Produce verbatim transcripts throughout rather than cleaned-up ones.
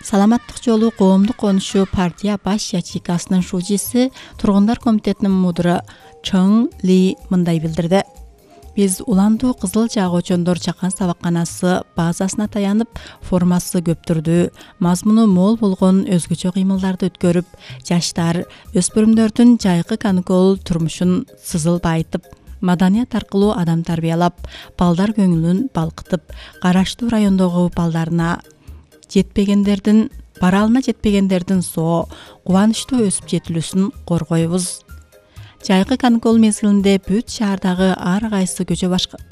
Саламаттык жолу коомдук конушу партия баш ячейкасынын шужиси тургундар комитетинин мудуру Чоң Ли мындай билдирди. Биз уландуу кызыл жаагочондор чакан сабакканасы базасына таянып, формасы көптүрдүү, мазмуну мол болгон өзгөчө кыймылдарды өткөрүп, жаштар, өспүрүмдөрдүн жайкы каникул турмушун сызыл байытып, маданият аркылуу адам тарбиялап, балдар көңүлүн балкытып, караштуу райондогу балдарына жетпегендердин, баралына жетпегендердин соо, кубанычтуу өсүп жетилүүсүн коргойбуз. Жайкы каникул мезгилинде бүт шаардагы ар кайсы көчө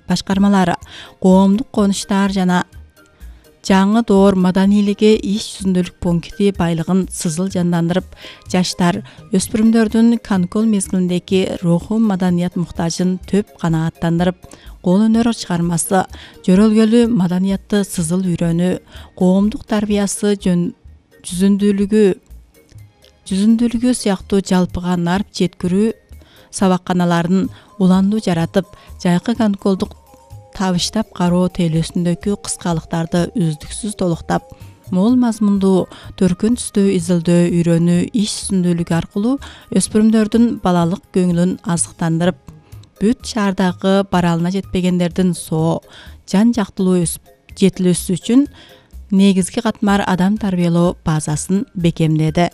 башкармалары, коомдук конуштар жана жаңы доор маданийлиги иш жүзүндөлүк пункти байлыгын сызыл жандандырып, жаштар, өспүрүмдөрдүн каникул мезгилиндеги руху маданият муктажын төп канааттандырып, кол өнөр чыгармасы, жөрөлгөлү маданиятты сызыл үйрөнүү, коомдук тарбиясы жүзүндүүлүгү жүзүндүүлүгү сыяктуу жалпыга нарп жеткирүү сабакканаларын уландуу жаратып, жайкы каникулдук табыштап кароо тейлөөсүндөгү кыскалыктарды үздүксүз толуктап, мол мазмундуу, төркүн түстүү изилдөө үйрөнүү иш жүзүндүүлүгү аркылуу өспүрүмдөрдүн балалык көңүлүн азыктандырып, бүт шаардагы баралына жетпегендердин соо, жан жактылуу өсүп жетилүүсү үчүн негизги катмар адам тарбиялоо базасын бекемдеди.